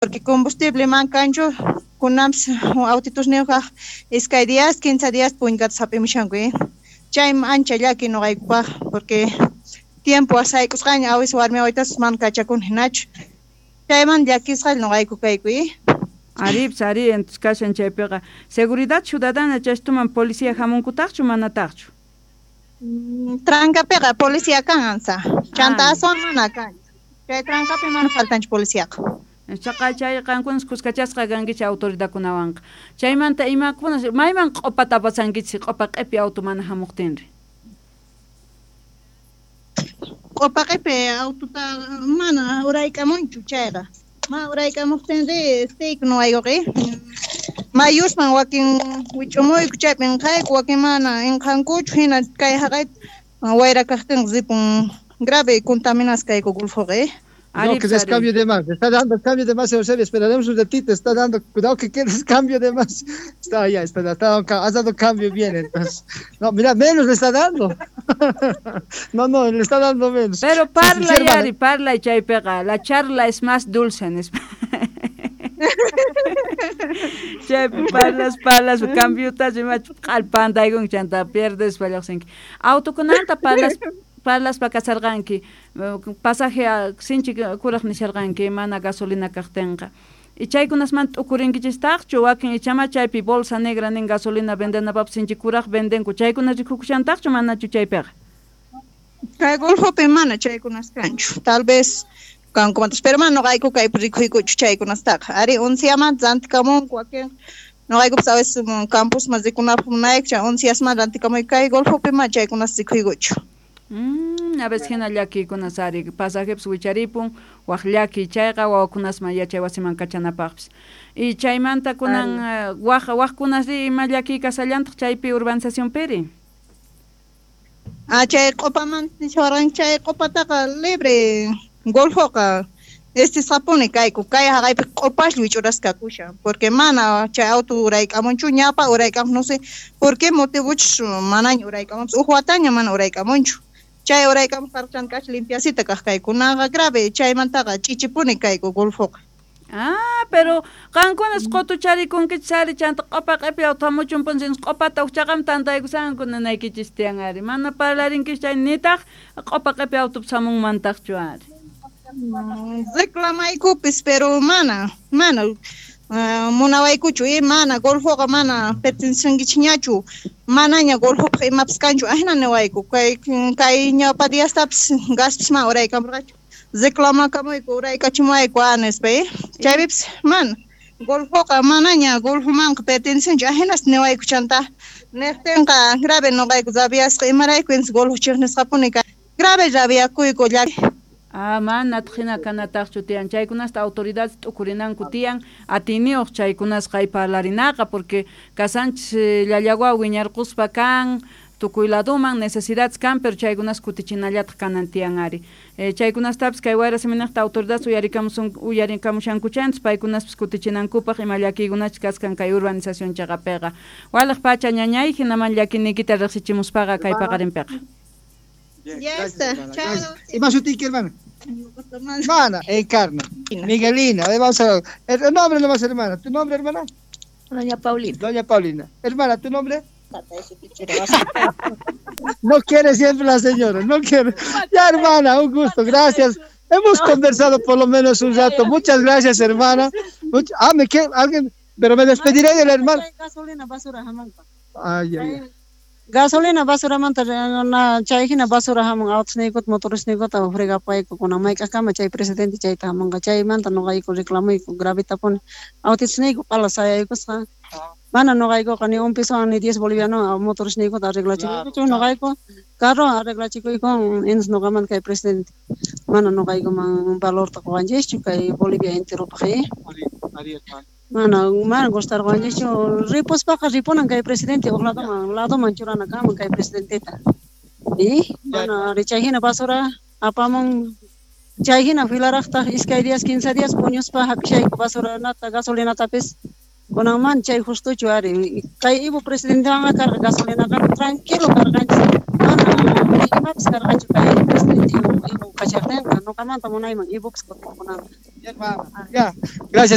Porque combustible man kanchu kunanpis autitusniyuqqa iskay días, 15 días puñkata hap'imushanku, chaymi ancha llaki nuqaykupaq, porque tiempo sayk'usqaña awis warmi wawitaspas mana kachakuni hinachu, chayman llakisqalla nuqayku kayku. Aripis ari, entonces kashan chaypiqa seguridad ciudadana chaystuman policía hamunkutaqchu manataqchu? Trancapiqa policía kan ansa, chanta aswan mana kan, chay trancapi mana faltanchu policiaqa. Chaqa chay qankunas kuskachasqa kankichik autoridadkunawanqa. Chaymanta imakuna mayman q'upata apasankichik q'upa q'ipi auto mana hamuqtinri? Q'upa q'ipi autota mana urayk'amunchu chayqa. Mana uraykamuqtinri estayku nuqaykuqa, mayusman wakin wich'umuyku chaypi inqayku, wakin mana inqankuchu, hina kay haqayta wayra kaqtinqa ripun, grave contaminasqa kayku Golfoqa. No, que des cambio de más. Está dando cambio de más, Eusebio. Esperaremos un ratito. Está dando, cuidado que quedes cambio de más. Está ya, está, has dado cambio bien, entonces. No, mira, menos le está dando. No, no, le está dando menos. Pero parla, sí, yari, parla y chaypiqa. La charla es más dulce en España. Chaypi parlas, parlas, cambiutas, q'alpantaykunki chanta pierdes lluqsinki. Autokunanta parlas, parlaspa kasarqanki, pasaje sinchi kuraq nisharqanki mana gasolina kaqtinqa. Y chaykunasmanta t'ukurinkichistaqchu wakin ichama chaypi bolsa negra nin gasolina vendenapapis sinchi kuraq vendenku, chaykuna rikukushantaqchu manachu chaypiqa? Kay Golfopi mana chaykunas kanchu, tal vez kankumantas, pero mana nuqayku kaypi rikuykuchu chaykunastaqa. Ari unciamanta rantikamunku wakin, nuqaykupas a veces campusman rikunapaq munayku, chay unciasmanta rantikamuy, kay Golfopi mana chaykunas rikuykuchu. A veces hina llakiykunas ari pasajepis wicharipun waq llaki chayqa wawakunasman yachay wasiman kachanapaqpis. Y chaymanta kunan waq waqkunasri ima llakiy kasallantaq chaypi urbanizacionpiri? Ah, chay q'upamanta nishawarqanki, chay q'upataqa libre Golfoqa estisqapuni kayku, kay haqaypi q'upaslla wich'urasqa kakushan, porque mana chay auto urayk'amunchu, ñawpa urayk'amuq, no sé por qué motivochus manaña urayk'amunchu, huk wataña mana urayk'amunchu. Chay uraykamuq karqa chanta k'acha limpiacita kaq kaykunaqa grave, chaymantaqa ch'ichipuni kayku Golfoqa. Ah, pero qankunas qutucharikunkichis ari chanta q'upa q'ipi auto hamuchun punchis q'upata huk tantaykusanku ninaykichis tiyan ari, mana parlarinkichis chay nitaq q'upa q'ipi autopis hamunmantaqchu ari. Reclamaykupis, pero mana, mana munawaykuchu, mana Golfoqa mana pertenecinkichisñachu, manaña Golfopaq imapis kanchu, ahina niwayku, kay kay ñawpa diastapis gaspis mana uraykamurqachu, reclamakamuyku uraykachimuwayku nispa, chaypipis mana Golfoqa manaña Golfomanqa pertenecinchu, ahinas niwayku chanta niqtinqa grave nuqayku rabiasqa, imarayku intis Golfo chiqnisqapuni grave rabiakuyku llaki. Ah, manataq hina kanataqchu tiyan, chaykunasta autoridades t'ukurinanku tiyan, atiyniyuq chaykunasqa hay parlarinaqa, porque kasanchis llallawa wiñarquspa kan, tukuy laduman necesidades kan, pero chaykunas kutichinallataq kanan tiyan ari. Chaykunastapis kay wayra siminiqta autoridades uyarikamushankuchanchis, paykunaspis kutichinankupaq ima llakiykunachus kaskan kay urbanización chaqapiqa. Waliq pacha ñañay, hinaman llakiniykita riqsichimuspaqa kay paqarinpiqa. Ya está. Chao. ¿Y más sutiki, hermana? Hermana, Encarna. Miguelina. Vamos a ver. El nombre nomás, hermana. ¿Tu nombre, hermana? Doña Paulina. Doña Paulina. Hermana, ¿tu nombre? No quiere siempre la señora, no quiere. Ya, hermana, un gusto, gracias. Hemos conversado por lo menos un rato. Muchas gracias, hermana. Me quiere alguien, pero me despediré de la hermana. Gasolina, basura, jamón. Ay, ay, ay. Gasolina basuramanta na chay hina basura hamun autusniykut motorisniykut fregapayku kunan mayk'aqkama chay presidente chayta hamunqa chaymanta nuqayku reclamuyku gravitapuni autisniyku q'ala sayaykusqa mana nuqaykuqa ni un pesowan ni 10 bolivianowan motorisniykuta arreglachikuykuchu nuqayku carro arreglachikuykuwan entonces nuqamanta kay presidente mana nuqaykuman valorta quwanchischu kay Bolivia enteropaq. Mana, mana gustarqanchikchu ripuspaqa ripunan kay presidente huk ladoman ladoman churana kanman kay presidenteta. Y mana chay hina basura apamun chay hina filaraqtaq iskay días 15 días puñuspa hap'ishayku basuranata gasolinatapis kunanman chay justuchu ari kay Evo presidentewanqa karqa gasolinaqa tranquilo karqanchis mana imapis karqanchu kay presidente Evo kashaqtinqa nuqamanta munayman Evopis kutipunanta. Ya, gracias.